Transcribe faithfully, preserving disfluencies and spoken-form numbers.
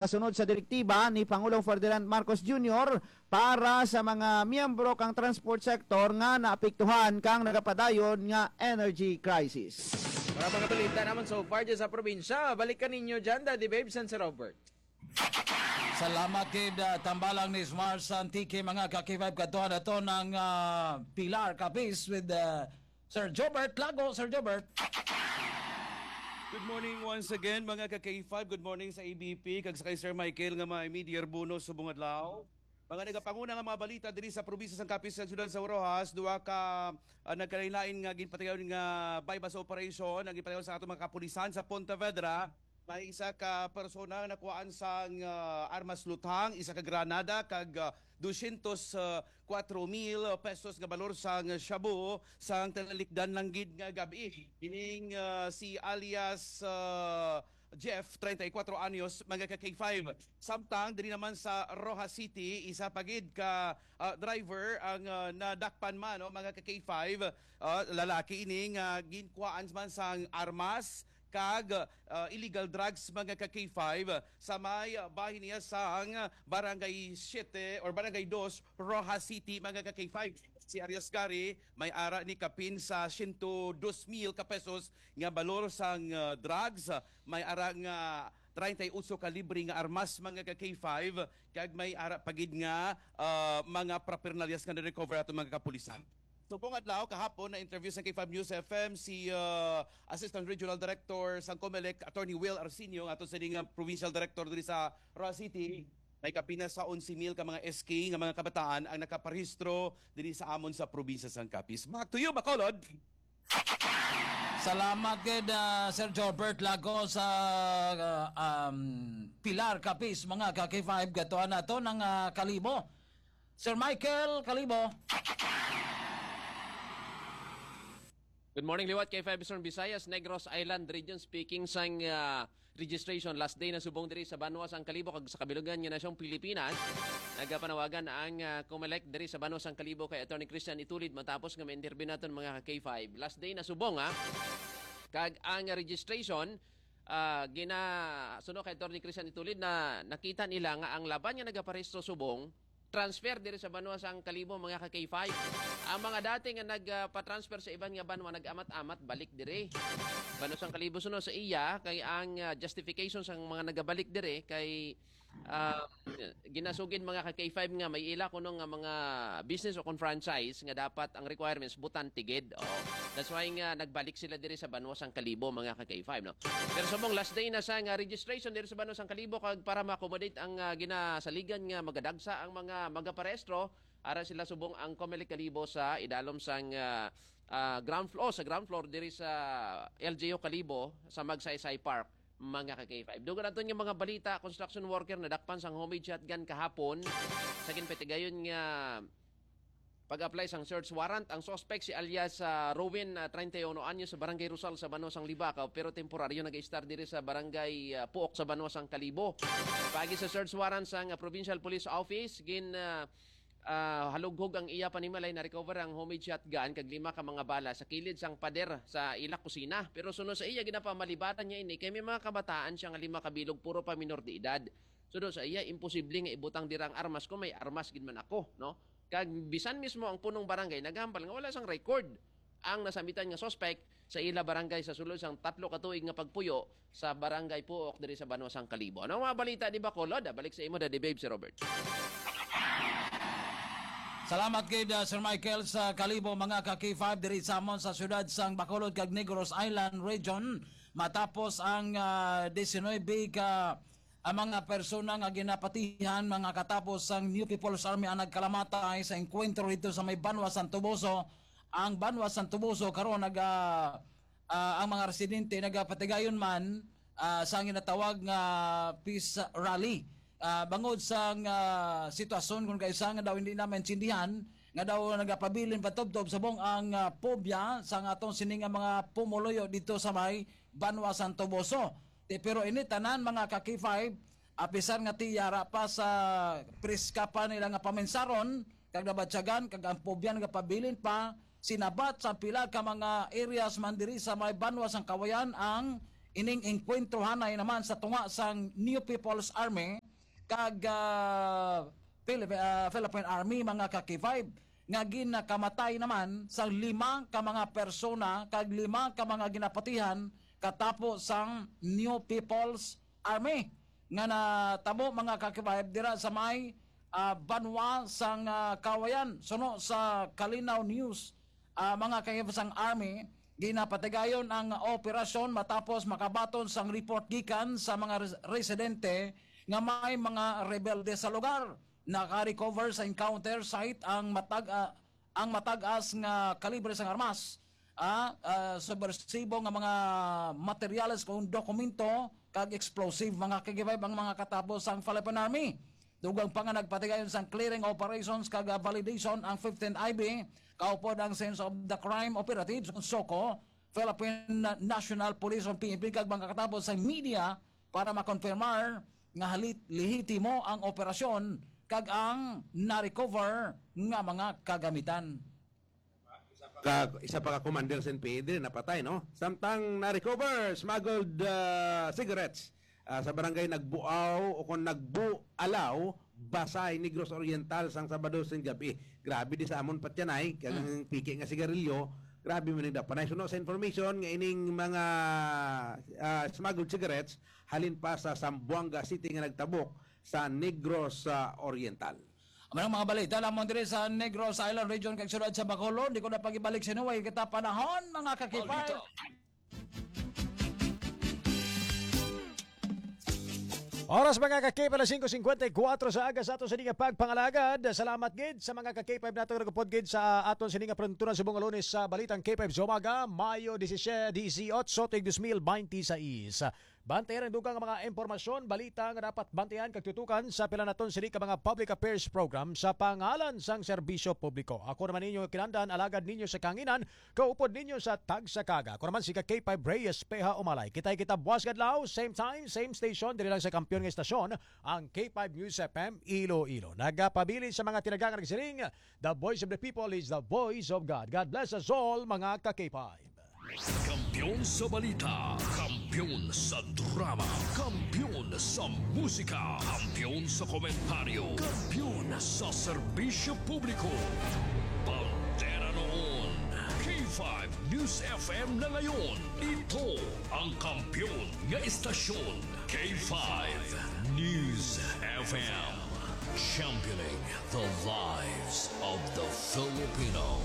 kasunod sa direktiba ni Pangulong Ferdinand Marcos Junior para sa mga miyembro kang transport sector nga naapektuhan kang nagapadayon nga energy crisis. Para mga balita naman so far dyan sa probinsya, balikan ninyo dyan, Daddy Babes and si Robert. Salamat gid, ah, tambalang ni Smart Santique, mga ka-K five. Kadto na to ng, ah, Pilar Capis with, ah, Sir Jobert Lago. Sir Jobert. Good morning once again, mga ka-K five. Good morning sa A B P, kag sa kay Sir Michael nga may media Arbuno subong adlaw. Mga nagapanguna nga mga balita diri sa probinsya sang Capiz, sa siyudad sa Roxas, duha ka, ah, nagkalain-lain nga ginpatigayon nga buy-bust operation ang ginpatigayon sa atong mga kapulisan sa Pontevedra. May isa ka persona nga nakuhaan sang, ah, armas luthang, isa ka granada, kag, ah, dosyentos kuwatro mil pesos nga balor sang shabu sang tinalikdan lang gid nga gab-i. Ining, ah, si alias, ah, Jeff, treinta y cuatro anyos, mga ka-K five. Samtang diri naman sa Roxas City, isa pa gid ka, ah, driver ang, ah, nadakpan man, no, mga ka-K five. Ah, lalaki ini nga ginkuhaan man sang armas kag, ah, illegal drugs, mga ka-K five, sa may, ah, bahin niya sang Barangay Siete or Barangay Dos, Roxas City, mga ka-K five. Si Arias Gary may ara ni kapin sa siyento dos mil ka pesos nga balor sang, ah, drugs, may ara nga treinta y ocho kalibre nga armas, mga ka-K five, kag may ara pa gid nga, ah, mga paraphernalias nga na-recover ato mga kapulisan. Subong adlaw, kahapon, na-interview sa K five News F M si, ah, Assistant Regional Director sang Comelec, Attorney Will Arsenio, nga ato sini nga Provincial Director diri sa Roxas City. May kapin na sa onse mil ka mga S K nga mga kabataan ang nakaparehistro diri sa amon sa probinsya sang Capiz. Back to you, Bacolod. Salamat gid, ah, Sir Jobert Lago sa, ah, um, Pilar Capiz, mga ka-K five. Gatuan nato ng, ah, Kalibo. Sir Michael Kalibo. Good morning, liwat K five Eastern Visayas, Negros Island Region. Speaking sang, ah, registration, last day na subong diri sa banwa sang Kalibo kag sa kabilugan nga nasyong Pilipinas. Nagapanawagan ang, ah, Comelec diri sa banwa sang Kalibo kay Attorney Christian Itulid matapos nga ma-interview naton, mga ka-K five. Last day na subong, ha. Kag ang registration, ah, gina-, suno kay Attorney Christian Itulid na nakita nila nga ang laban nga nagaparehistro subong, transfer diri sa banwa sang Kalibo, mga ka-K five. Ang mga dati nga nagpatransfer sa iban nga banwa, nag-amat-amat balik diri. Banwa sang Kalibo, suno sa iya, kay ang, ah, justification sang mga nagabalik diri kay, ah, ginasugid, mga ka-K five, nga may ila kuno nga mga business o kon franchise nga dapat ang requirements butante gid. Oh. That's why nga nagbalik sila diri sa banwa sang Kalibo, mga ka-K five, no? Pero subong last day na sa nga registration diri sa banwa sang Kalibo, kag para ma-accommodate ang, ah, ginasaligan nga magadagsa ang mga magaparehistro, ara sila subong ang Comelec Kalibo sa idalom sang, ah, ah, ground floor, sa ground floor diri sa L G U Kalibo sa Magsaysay Park, mga ka-K five. Dugay naton nga mga balita, construction worker nadakpan sang homemade shotgun kahapon sa ginpatigayon nga pag-apply sang search warrant. Ang suspect si alias, ah, Rowen, ah, treinta y uno anyos, sa Barangay Rosal sa banwa sang Libacao, pero temporaryo nag-istar diri sa Barangay, ah, Puok sa banwa sang Kalibo. Pagi sa search warrant sang, ah, Provincial Police Office, gin, ah, ah, halughog ang iya panimalay, na-recover ang homemade shotgun kag lima ka mga bala sa kilid sang pader sa ila kusina. Pero suno sa iya, ginapamalibaran niya ini kay may mga kabataan siya nga lima ka bilog, puro pa minor de edad. Suno sa iya, imposible nga ibutang dira ang armas kung may armas gid man ako, no? Kag bisan mismo ang punong barangay naghambal nga wala sang record ang nasambitan nga suspect sa ila barangay sa sulod sang tatlo ka tuig nga pagpuyo sa Barangay Puok diri sa banwa sang Kalibo. Ano ang mga balita ni Bacolod? Ah, balik sa imo, Daddy Babe, si Robert. Salamat gid, ah, Sir Michael, sa Kalibo, mga ka-K five, diri sa amon sa siyudad sang Bacolod kag Negros Island Region. Matapos ang, ah, diecinuebe ka, ang mga persona nga ginapatihan, mga katapos sang New People's Army ang nagkalamatay sa engkwentro dito sa may banwa sang Toboso. Ang banwa sang Toboso karon naga, ah, ang mga residente nagapatigayon man, ah, sa ginatawag nga peace rally. Ah, bangod sang, ah, sitwasyon kung kaisa nga daw hindi na maintindihan, nga daw nagapabilin patubtob subong ang, ah, phobia sa nga atong sini nga mga pumuluyo dito sa may banwa sang Toboso. Ti, pero ini tanan, mga ka-K five, apisar nga ti yara pa sa priska pa nila nga paminsaron, kag nabatyagan, kag ang phobia nga pabilin pa, sinabat sa pila ka mga areas man diri sa may banwa sang Kawayan ang ining engkwentrohanay naman sa tunga sang New People's Army kag, ah, Philip-, ah, Philippine Army, mga ka-K five, nga ginakamatay naman sang lima ka mga persona kag lima ka mga ginapatihan katapo sang New People's Army nga natabo, mga ka-K five, dira sa may, ah, banwa sang, ah, Kawayan. Suno sa Kalinaw News, ah, mga ka-K five, sang Army, ginapatigayon ang operasyon matapos makabaton sang report gikan sa mga res-, residente nga may mga rebelde sa lugar. Naka-recover sa encounter site ang matag-, ah, ang matag-as nga kalibre sang armas, ah, ah, subwersibo nga mga materyales kung dokumento kag explosive, mga ka-K five, ang mga katapo sang Philippine Army. Dugang pa nga nagpatigayon sang clearing operations kag, ah, validation ang fifteenth I B, kaupod ang Scenes of the Crime Operatives, SOCO, Philippine National Police o P N P kag mga katapo sa media para makonfirmar nga halit-, lehitimo ang operasyon kag ang na-recover nga mga kagamitan. Ka, isa pa ka commander sa N P A diri napatay, no? Samtang na-recover smuggled, ah, cigarettes, ah, sa barangay Nagbuaw o kung Nagbualaw, Basay, Negros Oriental, sang Sabado sing gabi. Grabe di sa amon patyanay, kag ang piki nga sigarilyo, grabe man ang dapanay. Suno sa information nga ining mga, ah, smuggled cigarettes halin pa sa Zamboanga City nga nagtabok sa Negros, ah, Oriental. Ang mga balita lamang diri sa Negros Island Region kag siyudad sa Bacolod. Di ko na pag-ibalik sa inuway kita panahon, mga kakipay. Oras, mga kakipay, alas singko singkwenta y kuwatro sa aga sa ato sa nga pagpangalagad. Salamat gid sa mga kakipay nato nagupod gid sa aton sa nga pronturan subong nga Lunes sa Balitang K five sa Umaga, Mayo disisyete, disiotso, tuig dos mil binte seis. Bantayan ang dugang nga mga impormasyon, balita nga dapat bantayan kag tutukan sa pila naton sini ka mga public affairs program sa pangalan sang serbisyo publiko. Ako naman ninyo kinandan, alagad ninyo sa kanginan, kaupod ninyo sa tagsa kaga. Ako naman si ka K five Reyes Peha Umalay. Kitay kita buwas kadlaw, same time, same station, diri lang sa kampiyon nga estasyon, ang K five News F M Iloilo. Nagapabilin sa mga tinaga nga nagsiring, "The voice of the people is the voice of God." God bless us all, mga ka K five. Kampiyon sa balita, kampiyon sa drama, kampiyon sa musika, kampiyon sa komentaryo, kampiyon sa serbisyo publiko. Bandera noon, K five News F M na ngayon. Ito ang kampiyon nga estasyon, K five News F M. Championing the lives of the Filipino.